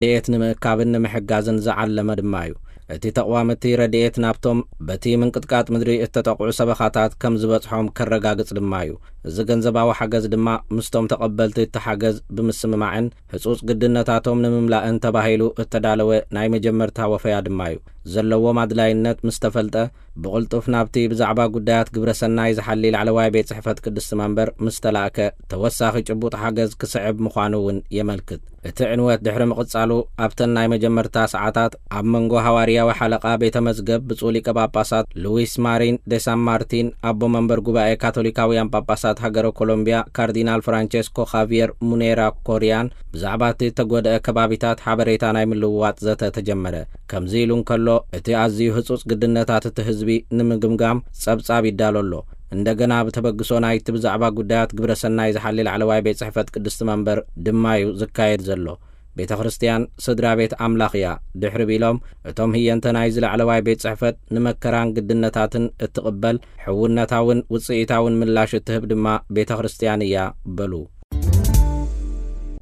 ረድኤት ንምእካብን ንምሕጋዝን ዝዓለመ ድማ እዩ። እቲ ተቕዋም እቲ ረድኤት ናብቶም በቲ ምንቅጥቃጥ ምድሪ እተጠቕዑ ሰበኻታት ከም ዝበጽሖም ከረጋግጽ ድማ እዩ። እዚ ገንዘባዊ ሓገዝ ድማ ምስቶም ተቐበልቲ እቲ ሓገዝ ብምስምማዕን ህጹጽ ግድነታቶም ንምምላእን ተባሂሉ እተዳለወ ናይ መጀመርታ ወፈያ ድማ እዩ። ዘለዎም ኣድላይነት ምስ ተፈልጠ፣ ብቕልጡፍ ናብቲ ብዛዕባ ጉዳያት ግብረ ሰናይ ዝሓሊ ላዕለዋይ ቤት ጽሕፈት ቅድስቲ መንበር ምስ ተላእከ፣ ተወሳኺ ጭቡጥ ሓገዝ ክስዕብ ምዃኑ እውን የመልክት። እቲ ዕንወት ድሕሪ ምቕጻሉ፣ ኣብተን ናይ መጀመርታ ሰዓታት ኣብ መንጎ ሃዋርያዊ ሓለቓ ቤተ መዝገብ ብፁዕ ሊቀ ጳጳሳት ሉዊስ ማሪን ደ ሳን ማርቲን፣ ኣቦ መንበር ጉባኤ ካቶሊካውያን ጳጳሳት ሃገረ ኮሎምብያ ካርዲናል ፍራንቸስኮ ኻቪየር ሙኔራ ኮሪያን ብዛዕባ እቲ እተጎድአ ከባቢታት ሓበሬታ ናይ ምልውዋጥ ዘተ ተጀመረ። ከምዚ ኢሉ እንከሎ፣ እቲ ኣዝዩ ህጹጽ ግድነታት እቲ ህዝቢ ንምግምጋም ጸብጻብ ይዳሎ ኣሎ። እንደገና ብተበግሶ ናይቲ ብዛዕባ ጉዳያት ግብረ ሰናይ ዝሓሊ ላዕለዋይ ቤት ጽሕፈት ቅድስቲ መንበር ድማ እዩ ዝካየድ ዘሎ። ቤተ ክርስቲያን ስድራ ቤት ኣምላኽ እያ። ድሕሪ ቢሎም፣ እቶም ህየንተ ናይዚ ላዕለዋይ ቤት ጽሕፈት ንመከራን ግድነታትን እትቕበል፣ ሕውነታውን ውጽኢታውን ምላሽ እትህብ ድማ ቤተ ክርስቲያን እያ በሉ።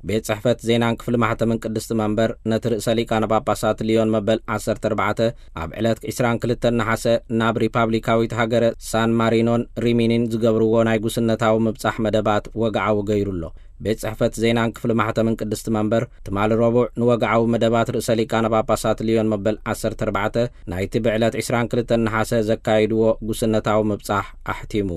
ቤት ጽሕፈት ዜናን ክፍሊ ማሕተምን ቅድስቲ መንበር ነቲ ርእሰ ሊቃነ ጳጳሳት ሊዮን መበል ዓሰርተ ኣርባዕተ ኣብ ዕለት ዕስራን ክልተን ነሓሰ ናብ ሪፓብሊካዊት ሃገረ ሳን ማሪኖን ሪሚኒን ዝገብርዎ ናይ ጉስነታዊ ምብጻሕ መደባት ወግዓዊ ገይሩ ኣሎ። ቤት ጽሕፈት ዜናን ክፍሊ ማሕተምን ቅድስቲ መንበር ትማሊ ረቡዕ ንወግዓዊ መደባት ርእሰ ሊቃነ ጳጳሳት ሊዮን መበል ዓሰርተ ኣርባዕተ ናይቲ ብዕለት ዕስራን ክልተን ነሓሰ ዘካይድዎ ጉስነታዊ ምብጻሕ ኣሕቲሙ።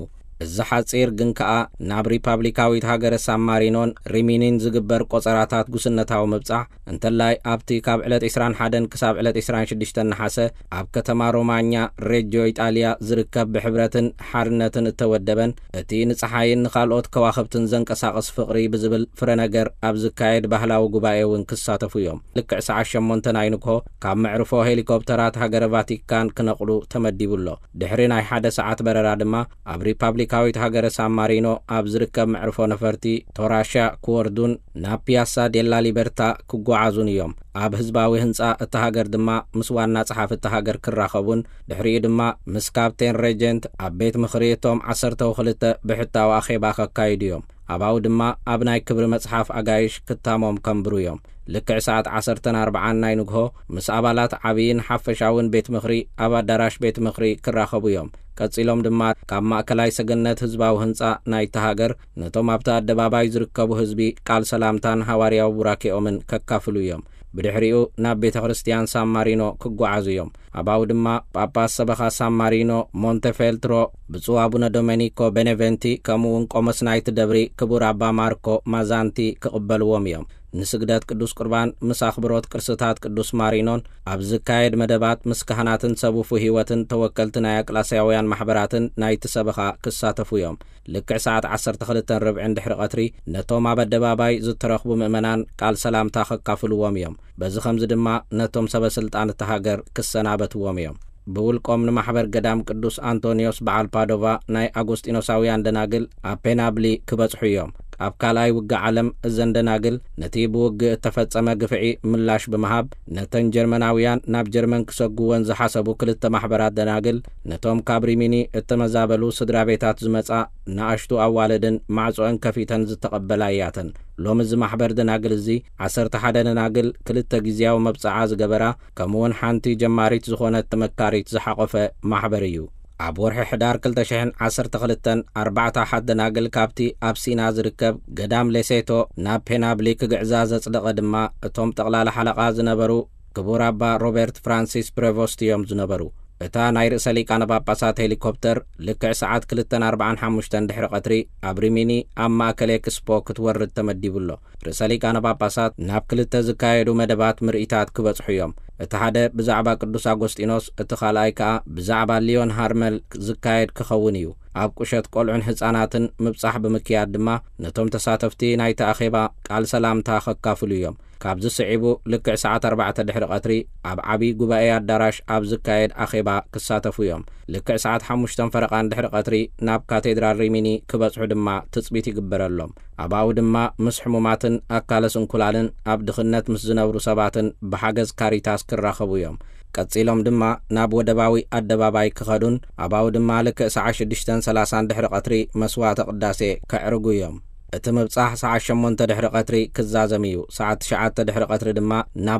እዚ ሓጺር ግን ከኣ ናብ ሪፓብሊካዊት ሃገረ ሳን ማሪኖን ሪሚኒን ዝግበር ቆጸራታት ጉስነታዊ ምብጻሕ፣ እንተላይ ኣብቲ ካብ ዕለት ዕስራን ሓደን ክሳብ ዕለት ዕስራን ሽዱሽተን ነሓሰ ኣብ ከተማ ሮማኛ ሬጆ ኢጣልያ ዝርከብ ብሕብረትን ሓርነትን እተወደበን እቲ ንጸሓይን ንኻልኦት ከዋኽብትን ዘንቀሳቕስ ፍቕሪ ብዝብል ፍረ ነገር ኣብ ዝካየድ ባህላዊ ጉባኤ እውን ክሳተፉ እዮም። ልክዕ ሰዓት ሸሞንተ ናይ ንግሆ ካብ መዕርፎ ሄሊኮፕተራት ሃገረ ቫቲካን ክነቕሉ ተመዲቡ ኣሎ። ድሕሪ ናይ ሓደ ሰዓት በረራ ድማ ኣብ ሪፓብሊካዊት ሃገረ ሳን ማሪኖ ኣብ ዝርከብ መዕርፎ ነፈርቲ ቶራሻ ክወርዱን ናብ ፒያሳ ዴላ ሊበርታ ክጓዓዙን እዮም። ኣብ ህዝባዊ ህንጻ እታ ሃገር ድማ ምስ ዋና ጸሓፊ እታ ሃገር ክራኸቡን ድሕሪኡ ድማ ምስ ካፕቴን ሬጀንት ኣብ ቤት ምኽሪ እቶም ዓሰርተው ክልተ ብሕታዊ ኣኼባ ከካይዱ እዮም። ኣባኡ ድማ ኣብ ናይ ክብሪ መጽሓፍ ኣጋይሽ ክታሞም ከንብሩ እዮም። ልክዕ ሰዓት ዓሰርተን ኣርባዓን ናይ ንግሆ ምስ ኣባላት ዓብይን ሓፈሻውን ቤት ምኽሪ ኣብ ኣዳራሽ ቤት ምኽሪ ክራኸቡ እዮም። ቀጺሎም ድማ ካብ ማእከላይ ሰገነት ህዝባዊ ህንጻ ናይታ ሃገር ነቶም ኣብቲ ኣደባባይ ዝርከቡ ህዝቢ ቃል ሰላምታን ሃዋርያዊ ቡራኬኦምን ከካፍሉ እዮም። ብድሕሪኡ ናብ ቤተ ክርስቲያን ሳን ማሪኖ ክጓዓዙ እዮም። ኣባኡ ድማ ጳጳስ ሰበኻ ሳን ማሪኖ ሞንቴፌልትሮ ብፁዕ ኣቡነ ዶሜኒኮ ቤኔቨንቲ፣ ከምኡ እውን ቆሞስ ናይቲ ደብሪ ክቡር ኣባ ማርኮ ማዛንቲ ክቕበልዎም እዮም። ንስግደት ቅዱስ ቁርባን ምስ ኣኽብሮት ቅርስታት ቅዱስ ማሪኖን ኣብ ዝካየድ መደባት ምስ ካህናትን ሰብ ውፉይ ህይወትን ተወከልቲ ናይ ኣቅላስያውያን ማሕበራትን ናይቲ ሰበኻ ክሳተፉ እዮም። ልክዕ ሰዓት ዓሰርተ ክልተን ርብዕን ድሕሪ ቀትሪ ነቶም ኣብ ኣደባባይ ዝተረኽቡ ምእመናን ቃል ሰላምታ ከካፍልዎም እዮም። በዚ ኸምዚ ድማ ነቶም ሰበ ስልጣን እታ ሃገር ክሰናበትዎም እዮም። ብውልቆም ንማሕበር ገዳም ቅዱስ ኣንቶንዮስ በዓል ፓዶቫ ናይ ኣጎስጢኖሳውያን ደናግል ኣብ ፔናብሊ ክበጽሑ እዮም። ኣብ ካልኣይ ውግእ ዓለም እዘን ደናግል ነቲ ብውግእ እተፈጸመ ግፍዒ ምላሽ ብምሃብ፣ ነተን ጀርመናውያን ናብ ጀርመን ክሰጉወን ዝሓሰቡ ክልተ ማሕበራት ደናግል፣ ነቶም ካብ ሪሚኒ እተመዛበሉ ስድራ ቤታት ዝመጻ ንኣሽቱ ኣዋልድን ማዕጾአን ከፊተን ዝተቐበላ እያተን። ሎሚ እዚ ማሕበር ደናግል እዚ ዓሰርተ ሓደ ደናግል፣ ክልተ ግዝያዊ መብጽዓ ዝገበራ፣ ከምኡውን ሓንቲ ጀማሪት ዝኾነት ተመካሪት ዝሓቖፈ ማሕበር እዩ። ኣብ ወርሒ ሕዳር ክልተ ሽሕን ዓሰርተ ክልተን ኣርባዕተ ኣሓት ደናግል ካብቲ ኣብ ሲና ዝርከብ ገዳም ሌሴቶ ናብ ፔናብሊ ክግዕዛ ዘጽደቐ ድማ እቶም ጠቕላላ ሓለቓ ዝነበሩ ክቡር ኣባ ሮበርት ፍራንሲስ ፕሬቮስት እዮም ዝነበሩ። እታ ናይ ርእሰ ሊቃነ ጳጳሳት ሄሊኮፕተር ልክዕ ሰዓት ክልተን ኣርባዓን ሓሙሽተን ድሕሪ ቀትሪ ኣብ ሪሚኒ ኣብ ማእከል ኤክስፖ ክትወርድ ተመዲቡ ኣሎ። ርእሰ ሊቃነ ጳጳሳት ናብ ክልተ ዝካየዱ መደባት ምርኢታት ክበጽሑ እዮም። እቲ ሓደ ብዛዕባ ቅዱስ ኣጎስጢኖስ፣ እቲ ካልኣይ ከኣ ብዛዕባ ሊዮን ሃርመል ዝካየድ ክኸውን እዩ። ኣብ ቁሸት ቆልዑን ህጻናትን ምብጻሕ ብምክያድ ድማ ነቶም ተሳተፍቲ ናይቲ ኣኼባ ቃል ሰላምታ ከካፍሉ እዮም። ካብዚ ስዒቡ ልክዕ ሰዓት ኣርባዕተ ድሕሪ ቀትሪ ኣብ ዓቢ ጉባኤ ኣዳራሽ ኣብ ዝካየድ ኣኼባ ክሳተፉ እዮም። ልክዕ ሰዓት ሓሙሽተን ፈረቓን ድሕሪ ቀትሪ ናብ ካቴድራል ሪሚኒ ክበጽሑ ድማ ትጽቢት ይግበረሎም። ኣባኡ ድማ ምስ ሕሙማትን ኣካለ ስንኩላንን ኣብ ድኽነት ምስ ዝነብሩ ሰባትን ብሓገዝ ካሪታስ ክራኸቡ እዮም። ቀጺሎም ድማ ናብ ወደባዊ ኣደባባይ ክኸዱን ኣባኡ ድማ ልክዕ ሰዓት ሽዱሽተን ሰላሳን ድሕሪ ቀትሪ መስዋዕተ ቅዳሴ ከዕርጉ እዮም። እቲ ምብጻሕ ሰዓት ሸሞንተ ድሕሪ ቀትሪ ክዛዘም እዩ። ሰዓት ትሽዓተ ድሕሪ ቀትሪ ድማ ናብ